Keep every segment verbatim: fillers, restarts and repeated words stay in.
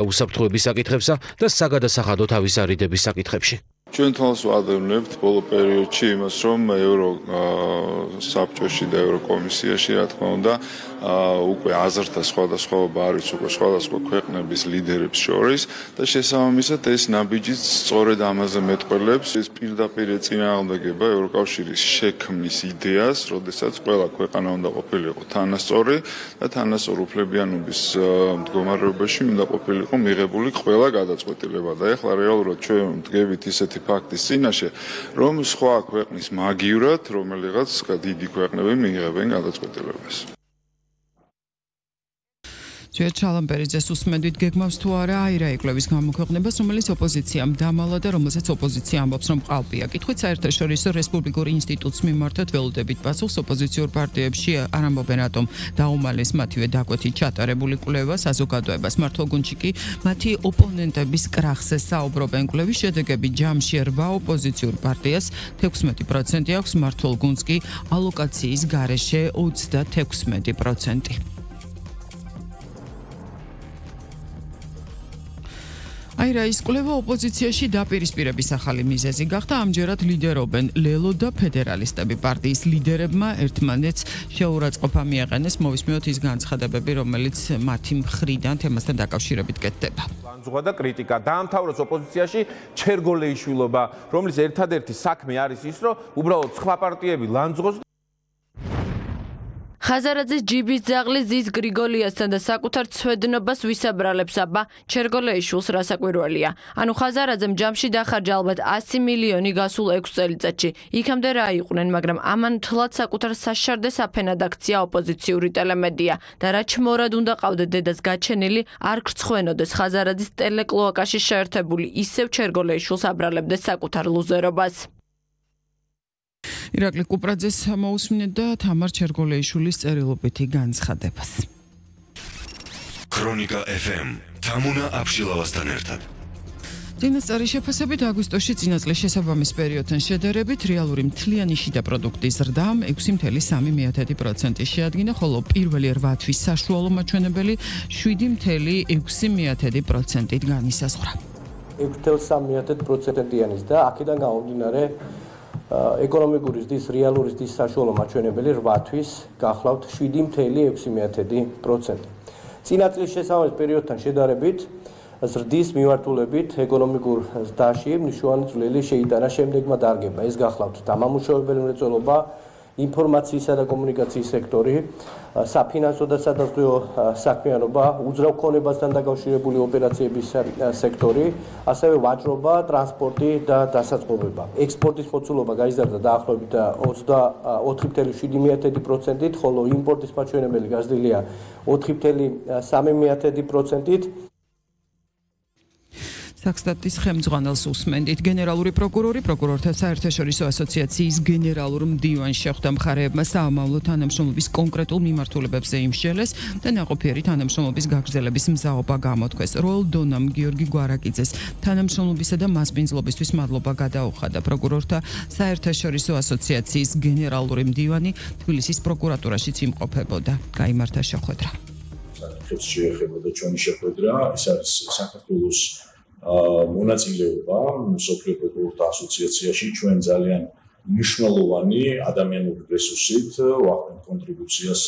უსაფრთხოების საკითხებსა და საგადასახადო თავისარიდების საკითხებში. ჩვენ თვალს ვადევნებთ ბოლო პერიოდში იმას, რომ ევრო საბჭოში და ევროკომისიაში, რა თქმა უნდა, უკვე აზრთა სხვადასხვაობა არის უკვე სხვადასხვა ქვეყნების ლიდერებს შორის და შესაბამისად ეს ნაბიჯიც სწორედ ამაზე მეტყველებს ეს პირდაპირ ეწინააღმდეგება ევროკავშირის შექმნის იდეას, როდესაც ყველა ქვეყანა უნდა ყოფილიყო თანასწორი და თანასწორ უფლებიანობის მდგომარეობაში უნდა ყოფილიყო მიღებული ყველა გადაწყვეტილება და ეხლა რეალურად ჩვენ ვდგებით ისეთი ფაქტის წინაშე, რომ სხვა ქვეყნის მაგივრად რომელიღაც დიდი ქვეყნები მიიღებენ გადაწყვეტილებას. ჯერ ჩალამპერიძეს უსმენდით გეგმავს თუ არა აირა ეკვლევის გამოქვეყნებას, რომელიც ოპოზიციამ დამალა და რომელსაც ოპოზიცია ამბობს, რომ ყალბია. კითხვით საერთაშორისო რესპუბლიკურ ინსტიტუტს მიმართეთ ველოდებით პასუხს ოპოზიციურ პარტიებში არ ამბობენ რატომ დაუმალეს მათივე დაკვეთით ჩატარებული კვლევა საზოგადოებას. მართლ გუნდში კი მათი ოპონენტების კრახზე საუბრობენ. კვლევის შედეგები ჯამში რვა ოპოზიციურ პარტიას თექვსმეტი პროცენტი აქვს, მართლ გუნდს კი ალოკაციის გარეშე ოცდათექვსმეტი პროცენტი. აირა ის კვლევა ოპოზიციაში დაპირისპირების ახალი მიზეზი გახდა, ამჯერად ლიდერობენ ლელო და ფედერალისტები. პარტიის ლიდერებმა ერთმანეთს შეურაცხყოფა მიაყენეს, მოვისმინოთ ის განცხადებები, რომელიც მათი მხრიდან თემასთან დაკავშირებით კეთდება. ლანძღვა და კრიტიკა დაამთავროს ოპოზიციაში ჩერგოლეიშვილობა, რომლის ერთადერთი საქმე არის ის, რომ უბრალოდ სხვა პარტიები ლანძღოს ხაზარაძის ჯიბის ძაღლი ზის გრიგოლიასთან და საკუთარ ცვედნობას ვისაბრალებს აბა ჩერგოლეიშვილს რასაკვირველია. ანუ ხაზარაძემ ჯამში დახარჯა ალბათ ასი მილიონი გასულ ექვს წელიწადში. იქამდე რა იყვნენ, მაგრამ ამან თლად საკუთარ საშარდეს აფენად აქცია ოპოზიციური ტელემედია და რა ჩმორად უნდა ყავდეთ დედას გაჩენილი არ გრცხვენოდეს ხაზარაძის ტელეკლოაკაში შეერთებული ისევ ჩერგოლეიშვილს აბრალებდეს საკუთარ ლუზერობას. ირაკლი კუპრაძეს მოусმინეთ და თამარ ჩერგოლეიშვილის წერილობითი განცხადებას. ქრონიკა ეფ ემ თამუნა აბშილავასთან ერთად. წინასწარი შეფასებით აგვისტოში წინა წლის შესაბამის პერიოდთან შედარებით რეალური მთლიანი შიდა პროდუქტის ზრდამ ექვსი წუთი სამი პროცენტი შეადგინა, ხოლო პირველი რვა თვის საშუალო მაჩვენებელი შვიდი წუთი ექვსი პროცენტით განისაზღვრა. ექვსი წუთი სამი პროცენტიანის და აქედან გამომდინარე ეკონომიკური ზრდის რეალური ზრდის საშუალო მაჩვენებელი რვა თვის გახლავთ შვიდი წუთი ექვსი პროცენტი. წინა წლის შესაბამის პერიოდთან შედარებით ზრდის მიმართულებით ეკონომიკურ ზრდაში მნიშვნელოვანი წვლილი შეიტანა შემდეგმა დარგებმა. ეს გახლავთ დამამუშავებელი მრეწველობა, ინფორმაციისა და კომუნიკაციის სექტორი, საფინანსო და სადაზღვევო საქმიანობა, უძრავ ქონებასთან დაკავშირებული ოპერაციების სექტორი, ასევე ვაჭრობა, ტრანსპორტი და დასაწყობება. ექსპორტის მოცულობა გაიზარდა დაახლოებით ოცდაოთხი წუთი შვიდი პროცენტით, ხოლო იმპორტის მაჩვენებელი გაზრდილია ოთხი წუთი სამი პროცენტით. საქსტატის ხელმძღვანელს უსმენდით. გენერალური პროკურორი პროკურორთა საერთაშორისო ასოციაციის გენერალურ მდივანში ხვდა მხარეებმა საამავლო თანამშრომლობის კონკრეტულ მიმართულებებზე იმსჯელეს და ნაყოფიერი თანამშრომლობის გაგრძელების მზაობა გამოთქვეს. როელ დონამ გიორგი გვარაკიძეს თანამშრომლობისა და მასპინძლობისთვის მადლობა გადაუხადა. პროკურორთა საერთაშორისო ასოციაციის გენერალური მდივანი თბილისის პროკურატურაშიც იმყოფებოდა. გაიმართა შეხვედრა. საკითხებს შეეხებოდა ჩვენი შეხვედრა, ეს არის საქართველოს მონაწილეობა მსოფლიო პროკურორთა ასოციაციაში. ჩვენ ძალიან მნიშვნელოვანი ადამიანური რესურსით ვახდენთ კონტრიბუციას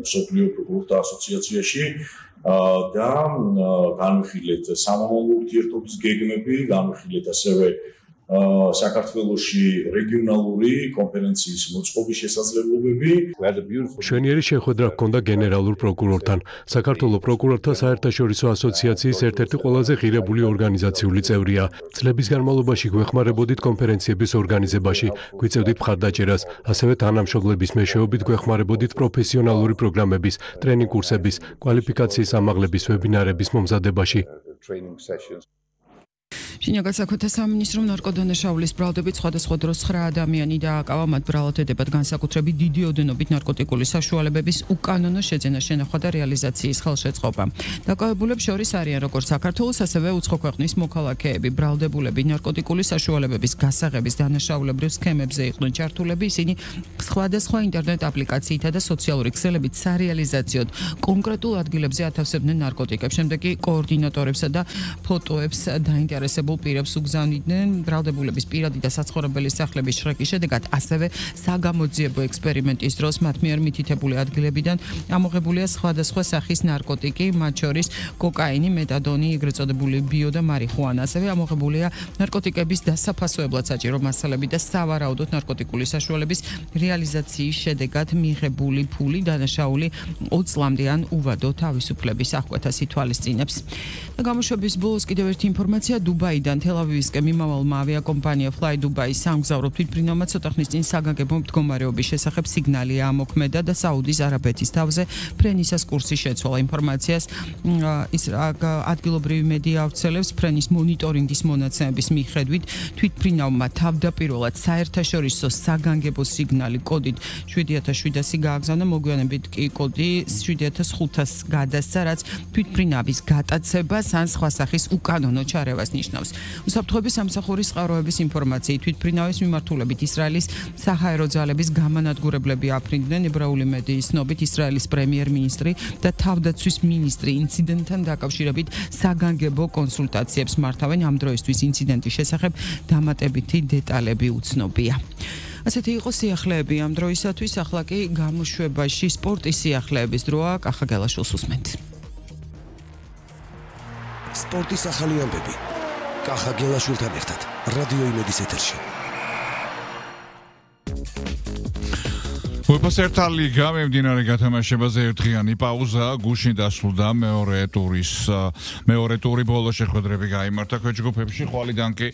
მსოფლიო პროკურორთა ასოციაციაში და განვიხილეთ სამამულო ურთიერთობის გეგმები, განვიხილეთ ასევე საქართველოში რეგიონალური კონფერენციის მოწყობის შესაძლებლობები. მშვენიერი შეხვედრა ჰქონდა გენერალურ პროკურორთან. საქართველოს პროკურორთა საერთაშორისო ასოციაციის ერთ-ერთი ყველაზე ღირებული ორგანიზაციული წევრია. წლების განმავლობაში გვეხმარებოდით კონფერენციების ორგანიზებაში, გვიწევდით მხარდაჭერას, ასევე თანამშრომლების მეშვეობით გვეხმარებოდით პროფესიონალური პროგრამების, ტრენინგ კურსების, კვალიფიკაციის ამაღლების ვებინარების მომზადებაში. შინაგან საქმეთა სამინისტრომ ნარკოდანაშაულის ბრალდებით სხვადასხვა დროს ცხრა ადამიანი დააკავა, მათ ბრალად ედებათ განსაკუთრებით დიდი ოდენობით ნარკოტიკული საშუალებების უკანონო შეძენა, შენახვა და რეალიზაციის ხელშეწყობა. დაკავებულებს შორის არიან როგორც საქართველოს, ასევე უცხო ქვეყნის მოქალაქეები. ბრალდებულები ნარკოტიკული საშუალებების გასაღების დანაშაულებრივ სქემებზე იყვნენ ჩართულები, ისინი სხვადასხვა ინტერნეტ აპლიკაციითა და სოციალური ქსელებით სარეალიზაციოდ კონკრეტულ ადგილებზე ათავსებდნენ ნარკოტიკებს. შემდეგ კი კოორდინატორებსა და ფოტოებს დაინტერესებულ პირებს უგზავნიდნენ. ბრალდებულების პირადი და საცხოვრებელი სახლების შრეკის შედეგად ასევე საგამოძიებო ექსპერიმენტის დროს მათ მიერ მითითებული ადგილებიდან ამოღებულია სხვადასხვა სახის ნარკოტიკი, მათ შორის კოკაინი, მეტადონი, ეგრეთ წოდებული ბიო და მარიხუანა. ასევე ამოღებულია ნარკოტიკების დასაფასოებლად საჭირო მასალები და სავარაუდოდ ნარკოტიკული საშუალების რეალიზაციის შედეგად მიღებული ფული დანაშაული ოც წლამდე ან უვადო თავისუფლების აღკვეთას ითვალისწინებს. და გამოშვების ბოლოს კიდევ ერთი ინფორმაცია დუბაიდან თელ-ავივისკენ მიმავალმა ავიაკომპანია Fly Dubai სამგზავრო თვითმფრინავმა ცოტა ხნის წინ საგანგებო მდგომარეობის შესახებ სიგნალი ამოქმედა და საუდის არაბეთის თავზე ფრენისას კურსი შეცვალა. ინფორმაციას ის ადგილობრივი მედია ავრცელებს. ფრენის მონიტორინგის მონაცემების მიხედვით თვითმფრინავმა თავდაპირველად საერთაშორისო საგანგებო სიგნალი კოდით შვიდი ათას შვიდასი გააგზავნა, მოგვიანებით კი კოდი შვიდი ათას ხუთასი გადასცა, რაც თვითმფრინავის გატაცებას ან სხვა სახის უკანონო ჩარევას ნიშნავს. უსაფრთხოების სამსახურის წყაროების ინფორმაციით თვითმფრინავის მიმართულებით ისრაელის საჰაერო ძალების გამანადგურებლები აფრინდნენ. ებრაული მედიის ცნობით ისრაელის პრემიერ-მინისტრი და თავდაცვის მინისტრი ინციდენტთან დაკავშირებით საგანგებო კონსულტაციებს მართავენ. ამ დროისთვის ინციდენტის შესახებ დამატებითი დეტალები უცნობია. ასეთი იყო სიახლეები ამ დროისათვის, ახლა კი გამოშვებაში სპორტის სიახლეების დროა. კახა გელაშვილს უსმენთ. სპორტის ახალი ამბები. კახა გელაშვილთან ერთად რადიო იმედის ეთერში. უეფა-თა ლიგა მიმდინარე გათამაშებაზე ერთდღიანი პაუზა, გუშინ დასრულდა მეორე ტურის მეორე ტური ბოლო შეხვედრები გაიმართა ქვეჯგუფებში, ხვალიდან კი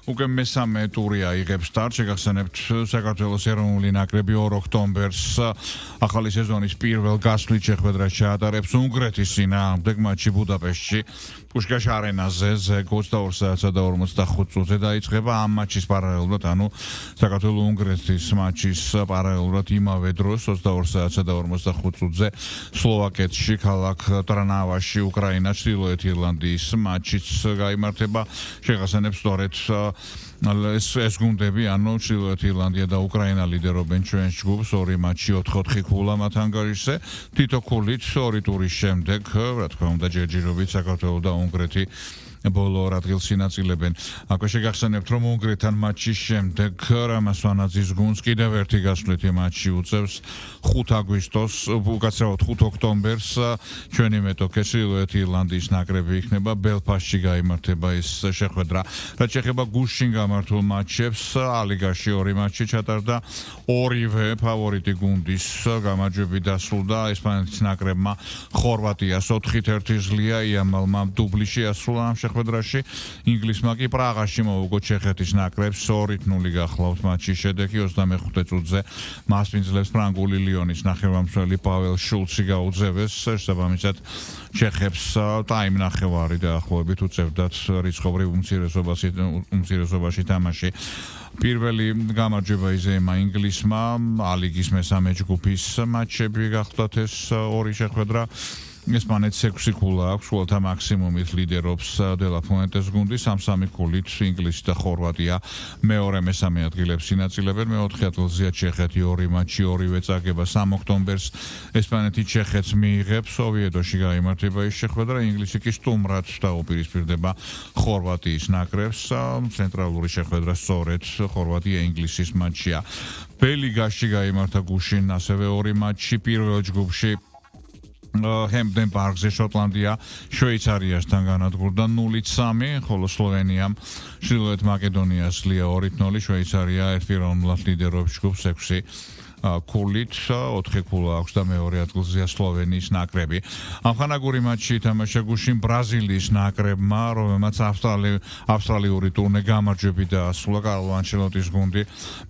უკვე მესამე ტური აიღებს სტარტს. შეგახსენებთ, საქართველოს ეროვნული ნაკრები ორ ოქტომბერს ახალი სეზონის პირველ გასვლით შეხვედრას ჩაატარებს უნგრეთის წინააღმდეგ მატჩი ბუდაპეშტში. პუშკაშ არენაზე ზეგ ოცდაორ საათსა და ორმოცდახუთ წუთზე დაიწყება ამ მატჩის პარალელურად, ანუ საქართველოს-უნგრეთის მატჩის პარალელურად იმავე დროს ოცდაორ საათსა და ორმოცდახუთ წუთზე სლოვაკეთში, ქალაქ ტრნავაში, უკრაინა ჩრდილოეთ ირლანდიის მატჩიც გაიმართება. შეგახსენებთ, სწორედ ეს ეს გუნდები, ანუ ჩრდილოეთ ირლანდია და უკრაინა ლიდერობენ ჩვენს ჯგუფს, ორი მატჩი ოთხ ოთხი ქულა მათ ანგარიშზე. თითო ქულით ორი ტურის შემდეგ, რა თქმა უნდა, ჯერჯერობით საქართველო და უნგრეთი ბოლო ორ ადგილს ინაწილებენ. აქვე შეგახსენებთ, რომ უნგრეთთან მატჩის შემდეგ რამასვანაძის გუნდს კიდევ ერთი გასვლითი მატჩი უწევს ხუთ აგვისტოს, უკაცრავად ხუთ ოქტომბერს ჩვენი მეტოქე ჩრდილოეთ ირლანდიის ნაკრები იქნება ბელფასტში გაიმართება ეს შეხვედრა. რაც შეეხება გუშინ გამართულ მატჩებს, ალიგაში ორი მატჩი ჩატარდა, ორივე ფავორიტი გუნდის გამარჯვებით დასრულდა. ესპანეთის ნაკრებმა ხორვატიას ოთხით ერთი ზლია, იამალმა დუბლი შეასრულა ამ შეხვედრაში. ინგლისმა კი პრაღაში მოუგო ჩეხეთის ნაკრებს ორ ნული გახლავთ მატჩის შედეგი. ოცდამეხუთე წუთზე მასპინძლებს ფრანგული ლიონის ნახევარმცველი პაվել შულცი გაუძევეს. შესაბამისად ჩეხებს ტაიმნახევარი დაახლოებით უწევდათ რიცხობრივ უმცირესობაში უმცირესობაში თამაში. პირველი გამარჯვება იზემა ინგლისმა, ალიგის მესამე ჯგუფის მატჩები გახლდათ ეს ორი შეხვედრა. ესპანეთს ექვსი ქულა აქვს, უელთა მაქსიმუმით ლიდერობს დელა ფუენტეს გუნდი, სამ-სამი ქულით ინგლისი და ხორვატია მეორე მესამე ადგილებს ინაწილებენ. მეოთხე ადგილზეა ჩეხეთი, ორი მატჩი, ორივე წაგება სამ ოქტომბერს. ესპანეთი ჩეხეთს მიიღებს, ოვიედოში გაიმართება ის შეხვედრა, ინგლისი კი სტუმრად დაუპირისპირდება ხორვატიის ნაკრებს. ცენტრალური შეხვედრა სწორედ ხორვატია ინგლისის მატჩია. ბელიგაში გაიმართა გუშინ ასევე ორი მატჩი, პირველ ჯგუფში ჰემპდენ პარკზე შოტლანდია შვეიცარიასთან განადგურდა ნული სამი, ხოლო სლოვენიამ ჩრდილოეთ მაკედონიას ლია ორი ნული, შვეიცარია ერთპიროვნულად ლიდერობს ჯგუფს ექვსი ქულით, ოთხი ქულა აქვს და მეორე ადგილზეა სლოვენიის ნაკრები. ამხანაგური მატჩი ითამაშა გუშინ ბრაზილიის ნაკრებმა, რომელმაც ავსტრალიური ტურნე გამარჯვებით დაასრულა. კარლო ანჩელოტის გუნდი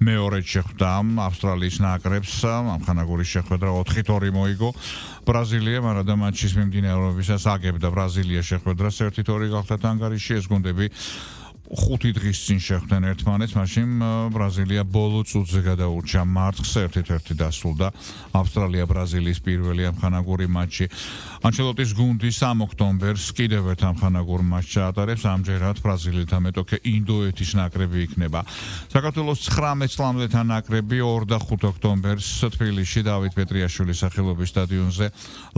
მეორედ შეხვდა ავსტრალიის ნაკრებს. ამხანაგური შეხვედრა ოთხით ორი მოიგო. ბრაზილია მარადა მატჩის მიმდინარეობისას აგებდა ბრაზილია შეხვედრას ერთით ორი გახდათ ანგარიში. ეს გუნდები ხუთი დღის წინ შეხვდნენ ერთმანეთს, მაშინ ბრაზილია ბოლო წუთზე გადაურჩა მარცხს ერთ-ერთი დასრულდა ავსტრალია ბრაზილიის პირველი ამხანაგური მატჩი. ანჩელოტის გუნდი სამ ოქტომბერს კიდევ ერთ ამხანაგურ მატჩს ჩაატარებს, ამჯერად ბრაზილიელთა მეტოქე ინდოეთის ნაკრები იქნება. საქართველოს ცხრამეტ წლამდეთა ნაკრები ორ და ხუთ ოქტომბერს თბილისში დავით პეტრიაშვილის სახელობის სტადიონზე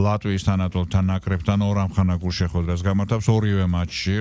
ლატვიის თანატოლთა ნაკრებთან ორ ამხანაგურ შეხვედრას გამართავს ორივე მატჩში,